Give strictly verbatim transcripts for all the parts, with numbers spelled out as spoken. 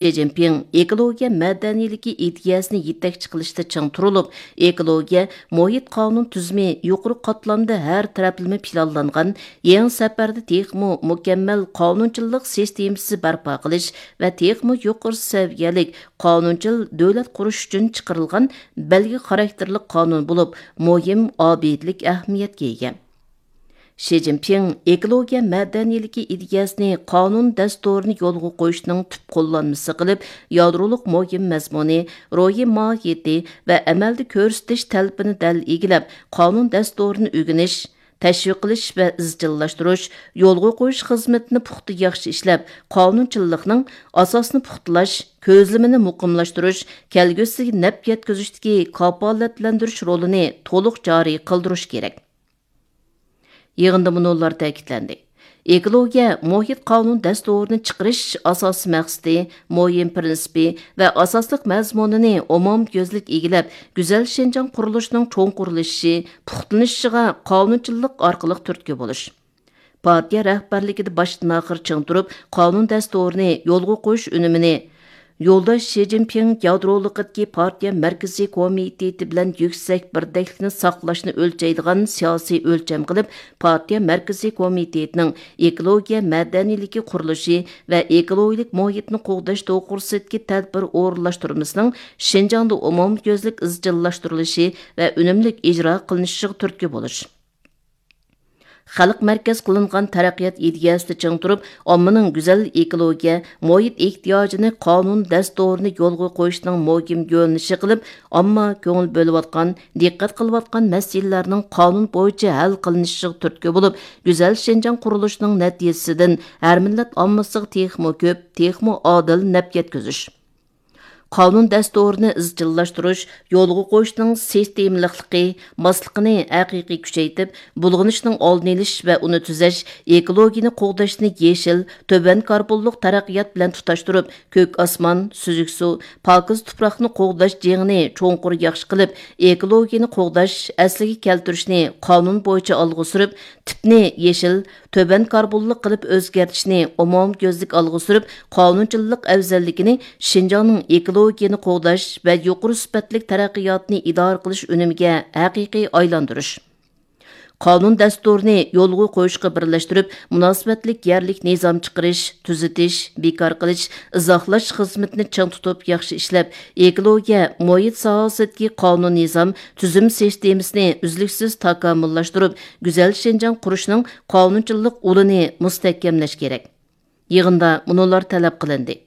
شى جىنپىڭ ئېكولوگىيە مەدەنىيلىكى ئىدىيەسىنى يېتەكچى قىلىشتا چىڭ تۇرۇلۇپ، ئېكولوگىيە، مۇھىت قانۇن تۈزۈمى يۇقىرى قاتلامدا ھەر تەرەپلىمە پىلانلانغان يېڭى سەپەردە تېخىمۇ مۇكەممەل قانۇنچىللىق سىستېمىسى بەرپا قىلىش ۋە تېخىمۇ يۇقىرى سەۋىيەلىك قانۇنچىل دۆلەت قۇرۇش ئۈچۈن چىقىرىلغان بەلگە خاراكتېرلىك قانۇن بولۇپ، مۇھىم ئابىدىلىك ئەھمىيەتكە ئىگە. شى جىنپىڭ ئېكولوگىيە مەدەنىيلىكى ئىدىيەسىنى قانۇن دەستۇرىنى يولغا قويۇشنىڭ تۈپ قوللانمىسى قىلىپ، يادرولۇق مۇھىم مەزمۇنى، روھىي ماھىيىتى ۋە ئەمەلدە كۆرسىتىش تەلىپىنى دەل ئىگىلەپ، قانۇن دەستۇرىنى ئۆگىنىش، تەشۋىق قىلىش ۋە ئىزچىللاشتۇرۇش، يولغا قويۇش خىزمىتىنى پۇختا ياخشى ئىشلەپ، قانۇنچىللىقنىڭ ئاساسىنى پۇختىلاش، كۆزلىمىنى مۇقىملاشتۇرۇش، كەلگۈسىگە نەپ يەتكۈزۈشتىكى كاپالەتلەندۈرۈش رولىنى تولۇق جارى قىلدۇرۇش كېرەك. يىغىندا مۇنۇلار تەكىتلەندى: ئېكولوگىيە مۇھىت قانۇن دەستۇرىنى چىقىرىش ئاساسىي مەقسىتى، مۇھىم پىرىنسىپى ۋە ئاساسلىق مەزمۇنىنى ئومۇميۈزلۈك ئىگىلەپ، گۈزەل شىنجاڭ قۇرۇلۇشىنىڭ چوڭقۇرلىشىشى، پۇختىلىنىشىغا قانۇنچىللىق ئارقىلىق تۈرتكە بولۇش. پارتىيە رەھبەرلىكىدە باشتىن ئاخىر چىڭ تۇرۇپ، قانۇن دەستۇرىنى يولغا قويۇش ئۈنۈمىنى يولداش شى جىنپىڭ يادرولۇقىدىكى پارتىيە مەركىزىي كومىتېتى بىلەن يۈكسەك بىردەكلىكنى ساقلاشنى ئۆلچەيدىغان سىياسىي ئۆلچەم قىلىپ، پارتىيە مەركىزىي كومىتېتىنىڭ ئېكولوگىيە مەدەنىيلىكى قۇرۇلۇشى ۋە ئېكولوگىيىلىك مۇھىتنى قوغداش توغرىسىدىكى تەدبىر ئورۇنلاشتۇرمىسىنىڭ شىنجاڭدا ئومۇميۈزلۈك ئىزچىللاشتۇرۇلۇشى ۋە ئۈنۈملۈك ئىجرا قىلىنىشىغا تۈرتكە بولۇش. خەلق مەركەز قىلىنغان تەرەققىيات ئىدىيەسىدە چىڭ تۇرۇپ، ئاممىنىڭ گۈزەل ئېكولوگىيە، مۇھىت ئېھتىياجىنى قانۇن دەستۇرىنى يولغا قويۇشنىڭ مۇھىم يۆنىلىشى قىلىپ، ئامما كۆڭۈل بۆلۈۋاتقان، دىققەت قىلىۋاتقان مەسىلىلەرنىڭ قانۇن بويىچە ھەل قىلىنىشىغا تۈرتكە بولۇپ، گۈزەل شىنجاڭ قۇرۇلۇشىنىڭ نەتىجىسىدىن ھەر مىللەت ئاممىسىغا تېخىمۇ كۆپ، تېخىمۇ ئادىل نەپ يەتكۈزۈش. قانۇن دەستۇرىنى ئىزچىللاشتۇرۇش، يولغا قويۇشنىڭ سىستېمىلىقلىقى، ماسلىقىنى ھەقىقىي كۈچەيتىپ، بۇلغىنىشنىڭ ئالدىنى ئېلىش ۋە ئۇنى تۈزەش، ئېكولوگىيىنى قوغداشنى يېشىل، تۆۋەن كاربونلۇق تەرەققىيات بىلەن تۇتاشتۇرۇپ، كۆك ئاسمان، سۈزۈك سۇ، پاكىز تۇپراقنى قوغداش جېڭىنى چوڭقۇر ياخشى قىلىپ، ئېكولوگىيىنى قوغداش، ئەسلىگە كەلتۈرۈشنى قانۇن بويىچە ئالغا سۈرۈپ، تىپنى يېشىل، تۆۋەن كاربونلۇق قىلىپ ئۆزگەرتىشنى ئومۇميۈزلۈك ئالغا سۈرۈپ، قانۇنچىلىق ئەۋزەللىكىنى شىنجاڭنىڭ ئېكولوگىيىنى قوغداش ۋە يۇقىرى سۈپەتلىك تەرەققىياتنى ئىدارە قىلىش ئۈنۈمىگە ھەقىقىي ئايلاندۇرۇش. قانۇن دەستۇرىنى يولغا قويۇشقا بىرلەشتۈرۈپ، مۇناسىۋەتلىك يەرلىك نىزام چىقىرىش، تۈزىتىش، بىكار قىلىش، ئىزاھلاش خىزمىتىنى چىڭ تۇتۇپ ياخشى ئىشلەپ، ئېكولوگىيە، مۇھىت ساھەسىدىكى قانۇن نىزام، تۈزۈم سىستېمىسىنى ئۈزلۈكسىز تاكامۇللاشتۇرۇپ، گۈزەل شىنجاڭ قۇرۇشنىڭ قانۇنچىلىق ئۇلىنى مۇستەھكەملەش كېرەك. يىغىندا مۇنۇلار تەلەپ قىلىندى: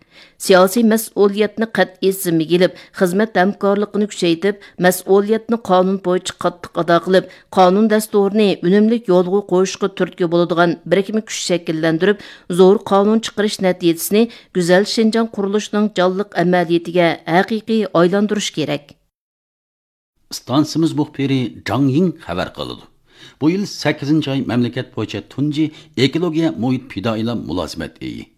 سىياسىي مەسئۇلىيەتنى قەتئىي زىممىگە ئېلىپ، خىزمەت ھەمكارلىقىنى كۈچەيتىپ، مەسئۇلىيەتنى قانۇن بويىچە قاتتىق ئادا قىلىپ، قانۇن دەستۇرىنى ئۈنۈملۈك يولغا قويۇشقا تۈرتكە بولىدىغان بىرىكمە كۈچ شەكىللەندۈرۈپ، زور قانۇن چىقىرىش نەتىجىسىنى گۈزەل شىنجاڭ قۇرۇلۇشىنىڭ جانلىق ئەمەلىيىتىگە ھەقىقىي ئايلاندۇرۇش كېرەك. ئىستانسىمىز مۇخبىرى جاڭ يىڭ خەۋەر قىلىدۇ. بۇ يىل سەككىزىنچى ئاي مەملىكەت بويىچە تۇنجى ئېكولوگىيە مۇھىت پىدائىيلار مۇلازىمەت ئېيى.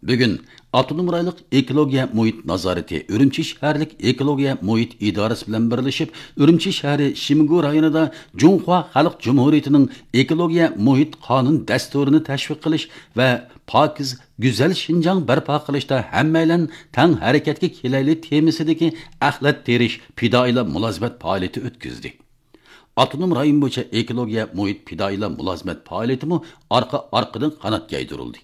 بۈگۈن ئاپتونوم رايونلۇق ئېكولوگىيە مۇھىت نازارىتى ئۈرۈمچى شەھەرلىك ئېكولوگىيە مۇھىت ئىدارىسى بىلەن بىرلىشىپ، ئۈرۈمچى شەھىرى شىمگۇ رايونىدا جۇڭخۇا خەلق جۇمھۇرىيىتىنىڭ ئېكولوگىيە مۇھىت قانۇن دەستۇرىنى تەشۋىق قىلىش ۋە پاكىز، گۈزەل شىنجاڭ بەرپا قىلىشتا ھەممەيلەن تەڭ ھەرىكەتكە كېلەيلى تېمىسىدىكى ئەخلەت تېرىش پىدائىيلار مۇلازىمەت پائالىيىتى ئۆتكۈزدى. ئاپتونوم رايون بويىچە ئېكولوگىيە مۇھىت پىدائىيلار مۇلازىمەت پائالىيىتىمۇ ئارقا-ئارقىدىن قانات يايدۇرۇلدى.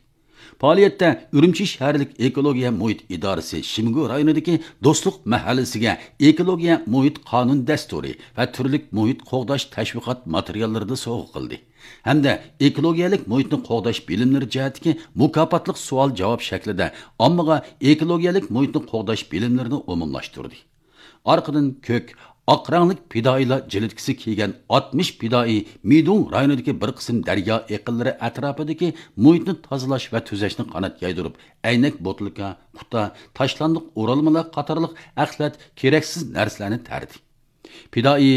پائالىيەتتە ئۈرۈمچى شەھەرلىك ئېكولوگىيە مۇھىت ئىدارىسى شىمگۇ رايونىدىكى دوستلۇق مەھەللىسىگە ئېكولوگىيە مۇھىت قانۇن دەستۇرى ۋە تۈرلۈك مۇھىت قوغداش تەشۋىقات ماتېرىياللىرىنى سوۋغا قىلدى ھەمدە ئېكولوگىيەلىك مۇھىتنى قوغداش بىلىملىرى جەھەتتىكى مۇكاپاتلىق سوئال-جاۋاب شەكلىدە ئاممىغا ئېكولوگىيەلىك مۇھىتنى قوغداش بىلىملىرىنى ئومۇملاشتۇردى. ئارقىدىن كۆك، ئاق رەڭلىك پىدائىيلار جىلىتكىسى كىيگەن ئاتمىش پىدائىي مىدۇڭ رايونىدىكى بىر قىسىم دەريا ئېقىنلىرى ئەتراپىدىكى مۇھىتنى تازىلاش ۋە تۈزەشنى قانات يايدۇرۇپ، ئەينەك بوتۇلكا، قۇتا، تاشلاندۇق ئورالمىلار قاتارلىق ئەخلەت، كېرەكسىز نەرسىلەرنى تەردى. پىدائىي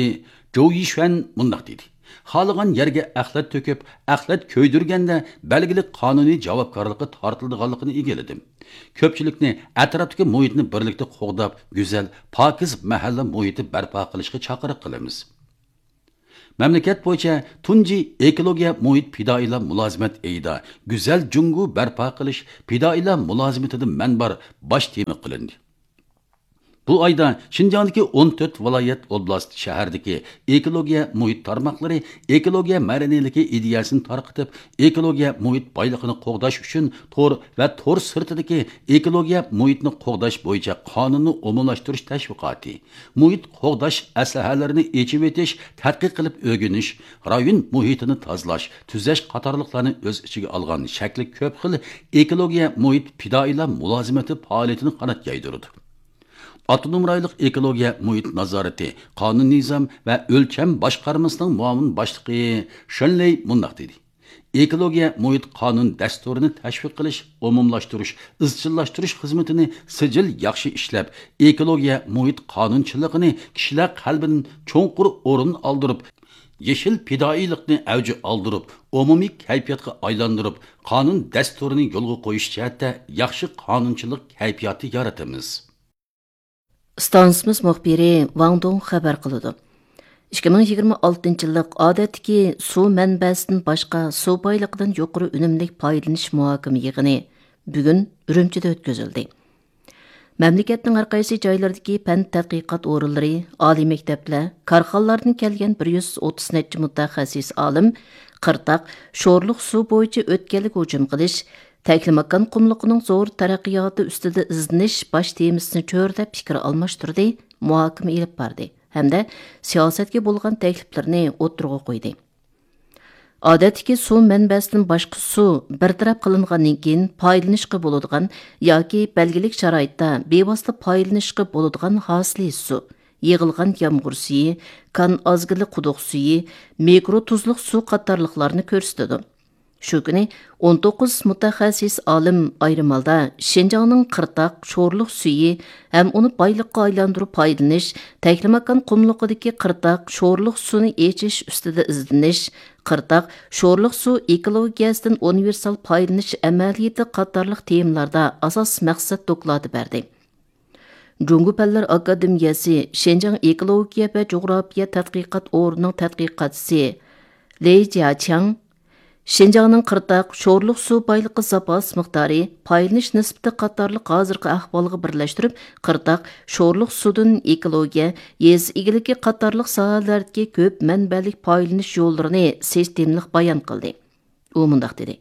جوۋ يىشۈەن مۇنداق دېدى: خالىغان يەرگە ئەخلەت تۆكۈپ، ئەخلەت كۆيدۈرگەندە بەلگىلىك قانۇنىي جاۋابكارلىققا تارتىلىدىغانلىقىنى ئىگىلىدىم. كۆپچىلىكنى ئەتراپتىكى مۇھىتنى بىرلىكتە قوغداپ، گۈزەل، پاكىز مەھەللە مۇھىتى بەرپا قىلىشقا چاقىرىق قىلىمىز. مەملىكەت بويىچە تۇنجى ئېكولوگىيە مۇھىت پىدائىيلار مۇلازىمەت ئېيىدا گۈزەل جۇڭگو بەرپا قىلىش پىدائىيلار مۇلازىمىتىدە مەن بار باش تېما قىلىندى. بۇ ئايدا شىنجاڭدىكى ئون تۆت ۋىلايەت، ئوبلاست، شەھەردىكى ئېكولوگىيە مۇھىت تارماقلىرى ئېكولوگىيە مەدەنىيلىكى ئىدىيەسىنى تارقىتىپ، ئېكولوگىيە مۇھىت بايلىقىنى قوغداش ئۈچۈن تور ۋە تور سىرتىدىكى ئېكولوگىيە مۇھىتنى قوغداش بويىچە قانۇننى ئومۇملاشتۇرۇش تەشۋىقاتى، مۇھىت قوغداش ئەسلىھەلىرىنى ئېچىۋېتىش، تەتقىق قىلىپ ئۆگىنىش، رايون مۇھىتىنى تازىلاش، تۈزەش قاتارلىقلارنى ئۆز ئىچىگە ئالغان شەكلى كۆپ خىل ئېكولوگىيە مۇھىت پىدائىيلار مۇلازىمىتى پائالىيىتىنى قانات يايدۇرىدۇ. ئاپتونوم رايونلۇق ئېكولوگىيە مۇھىت نازارىتى، قانۇن نىزام ۋە ئۆلچەم باشقارمىسىنىڭ مۇئاۋىن باشلىقى شېن لېي مۇنداق دېدى: ئېكولوگىيە مۇھىت قانۇن دەستۇرىنى تەشۋىق قىلىش، ئومۇملاشتۇرۇش، ئىزچىللاشتۇرۇش خىزمىتىنى سىجىل ياخشى ئىشلەپ، ئېكولوگىيە مۇھىت قانۇنچىلىقىنى كىشىلەر قەلبىدىن چوڭقۇر ئورۇن ئالدۇرۇپ، يېشىل پىدائىيلىقنى ئەۋج ئالدۇرۇپ، ئومۇمىي كەيپىياتقا ئايلاندۇرۇپ، قانۇن دەستۇرىنى يولغا قويۇش جەھەتتە ياخشى قانۇنچىلىق كەيپىياتى يارىتىمىز. ئىستانسىمىز مۇخبىرى ۋاڭ دۇڭ خەۋەر قىلىدۇ. ئىككى مىڭ يىگىرمە ئالتىنچى يىللىق ئادەتتىكى سۇ مەنبەسىدىن باشقا سۇ بايلىقىدىن يۇقىرى ئۈنۈملۈك پايدىلىنىش مۇھاكىمە يىغىنى بۈگۈن ئۈرۈمچىدە ئۆتكۈزۈلدى. مەملىكەتنىڭ ھەر قايسى جايلىرىدىكى پەن تەتقىقات ئورۇنلىرى، ئالىي مەكتەپلەر، كارخانىلاردىن كەلگەن بىر يۈز ئوتتۇز نەچچە مۇتەخەسسىس ئالىم قىرتاق، شورلۇق سۇ بويىچە ئۆتكەلگە ھۇجۇم قىلىش، تەكلىماكان قۇملۇقىنىڭ زور تەرەققىياتى ئۈستىدە ئىزدىنىش باش تېمىسىنى چۆرىدەپ پىكىر ئالماشتۇردى، مۇھاكىمە ئېلىپ باردى ھەمدە سىياسەتكە بولغان تەكلىپلىرىنى ئوتتۇرىغا قويدى. ئادەتتىكى سۇ مەنبەسىدىن باشقا سۇ بىر تەرەپ قىلىنغاندىن كېيىن پايدىلىنىشقا بولىدىغان ياكى بەلگىلىك شارائىتتا بىۋاسىتە پايدىلىنىشقا بولىدىغان ھاسىلى سۇ، يىغىلغان يامغۇر سۈيى، كان ئازگىلى قۇدۇق سۈيى، مىكرو تۇزلۇق سۇ قاتارلىقلارنى كۆرسىتىدۇ. شۇ كۈنى ئون توققۇز مۇتەخەسسىس ئالىم ئايرىم ھالدا شىنجاڭنىڭ قىرتاق، شورلۇق سۈيى ھەم ئۇنى بايلىققا ئايلاندۇرۇپ پايدىلىنىش، تەكلىماكان قۇملۇقىدىكى قىرتاق، شورلۇق سۇنى ئېچىش ئۈستىدە ئىزدىنىش، قىرتاق، شورلۇق سۇ ئېكولوگىيەسىدىن ئۇنىۋېرسال پايدىلىنىش ئەمەلىيىتى قاتارلىق تېمىلاردا ئاساس مەقسەت دوكلاتى بەردى. جۇڭگو پەنلەر ئاكادېمىيەسى شىنجاڭ ئېكولوگىيە ۋە جۇغراپىيە تەتقىقات ئورنىنىڭ تەتقىقاتچىسى لېي جياچياڭ شىنجاڭنىڭ قىرتاق، شورلۇق سۇ بايلىقى زاپاس مىقدارى، پايدىلىنىش نىسبىتى قاتارلىق ھازىرقى ئەھۋالغا بىرلەشتۈرۈپ، قىرتاق، شورلۇق سۇدىن ئېكولوگىيە، يېزا ئىگىلىكى قاتارلىق ساھەلەردىكى كۆپ مەنبەلىك پايدىلىنىش يوللىرىنى سىستېمىلىق بايان قىلدى. ئۇ مۇنداق دېدى: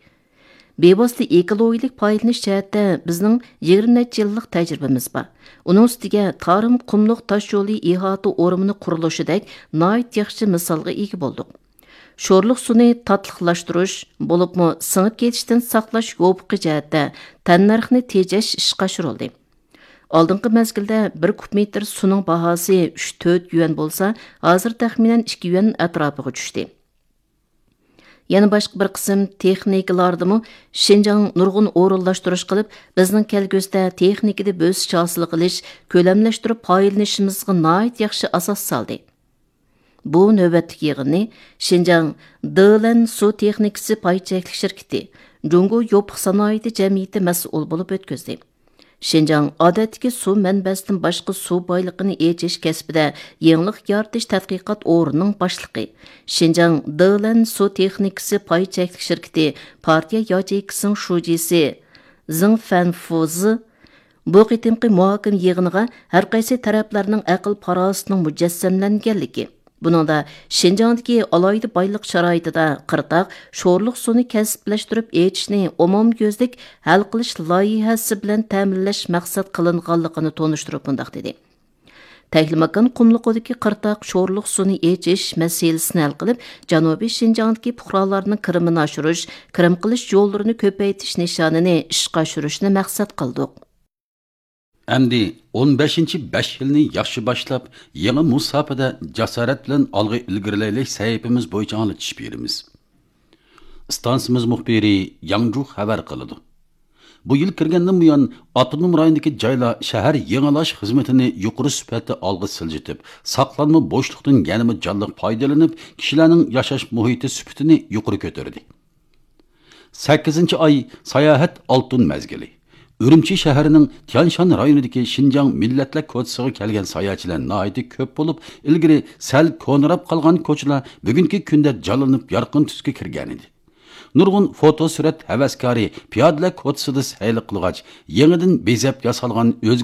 بىۋاسىتە ئېكولوگىيەلىك پايدىلىنىش جەھەتتە بىزنىڭ يىگىرمە نەچچە يىللىق تەجرىبىمىز بار. ئۇنىڭ ئۈستىگە تارىم قۇملۇق تاشيولى ئىھاتە ئورمىنى قۇرۇلۇشىدەك ناھايىتى ياخشى مىسالغا ئىگە بولدۇق. شورلۇق سۇنى تاتلىقلاشتۇرۇش، بولۇپمۇ سىڭىپ كېتىشتىن ساقلاش يوپۇقى جەھەتتە تەننەرخنى تېجەش ئىشقا ئاشۇرۇلدى. ئالدىنقى مەزگىلدە بىر كۇب مېتىر سۇنىڭ باھاسى ئۈچ تۆت يۈەن بولسا، ھازىر تەخمىنەن ئىككى يۈەن ئەتراپىغا چۈشتى. يەنە باشقا بىر قىسىم تېخنىكىلاردىمۇ شىنجاڭ نۇرغۇن ئورۇنلاشتۇرۇش قىلىپ، بىزنىڭ كەلگۈسىدە تېخنىكىدا بۆسۈش ھاسىل قىلىش، كۆلەملەشتۈرۈپ پايدىلىنىشىمىزغا ناھايىتى ياخشى ئاساس سالدى. بۇ نۆۋەتلىك يىغىننى شىنجاڭ دېلەن سۇ تېخنىكىسى پاي چەكلىك شىركىتى، جۇڭگو يوپۇق سانائىتى جەمئىيىتى مەسئۇل بولۇپ ئۆتكۈزدى. شىنجاڭ ئادەتتىكى سۇ مەنبەسىدىن باشقا سۇ بايلىقىنى ئېچىش كەسپىدە يېڭىلىق يارىتىش تەتقىقات ئورنىنىڭ باشلىقى، شىنجاڭ دېلەن سۇ تېخنىكىسى پاي چەكلىك شىركىتى پارتىيە ياچېيكىسىنىڭ شۇجىسى زېڭ فەنفۇزى بۇ قېتىمقى مۇھاكىمە يىغىنىغا ھەر قايسى تەرەپلەرنىڭ ئەقىل-پاراسىتىنىڭ مۇجەسسەملەنگەنلىكى، بۇنىڭدا شىنجاڭدىكى ئالاھىدە بايلىق شارائىتىدا قىرتاق، شورلۇق سۇنى كەسىپلەشتۈرۈپ ئېچىشنى ئومۇميۈزلۈك ھەل قىلىش لايىھەسى بىلەن تەمىنلەش مەقسەت قىلىنغانلىقىنى تونۇشتۇرۇپ مۇنداق دېدى: تەكلىماكان قۇملۇقىدىكى قىرتاق شورلۇق سۇنى ئېچىش مەسىلىسىنى ھەل قىلىپ، جەنۇبىي شىنجاڭدىكى پۇقرالارنىڭ كىرىمىنى ئاشۇرۇش، كىرىم قىلىش يوللىرىنى كۆپەيتىش نىشانىنى ئىشقا ئاشۇرۇشنى مەقسەت قىلدۇق. ئەمدى ئون بەشىنچى بەش يىلنى ياخشى باشلاپ، يېڭى مۇساپىدە جاسارەت بىلەن ئالغا ئىلگىرىلەيلى سەھىپىمىز بويىچە ئاڭلىتىش بېرىمىز. ئىستانسىمىز مۇخبىرى ياڭجۇ خەۋەر قىلىدۇ. بۇ يىل كىرگەندىن بۇيان، ئاپتونوم رايوندىكى جايلار شەھەر يېڭىلاش خىزمىتىنى يۇقىرى سۈپەتتە ئالغا سىلجىتىپ، ساقلانما بوشلۇقتىن يەنىمۇ جانلىق پايدىلىنىپ، كىشىلەرنىڭ ياشاش مۇھىتى سۈپىتىنى يۇقىرى كۆتۈردى. سەككىزىنچى ئاي ساياھەت ئالتۇن مەزگىلى. ئۈرۈمچى شەھىرىنىڭ تيانشان رايونىدىكى شىنجاڭ مىللەتلەر كوچىسىغا كەلگەن ساياھەتچىلەر ناھايىتى كۆپ بولۇپ، ئىلگىرى سەل كونىراپ قالغان كوچىلار بۈگۈنكى كۈندە جانلىنىپ، يارقىن تۈسكە كىرگەنىدى. نۇرغۇن فوتو سۈرەت ھەۋەسكارى پىيادىلەر كوچىسىدا سەيلە قىلغاچ، يېڭىدىن بېزەپ ياسالغان ئۆز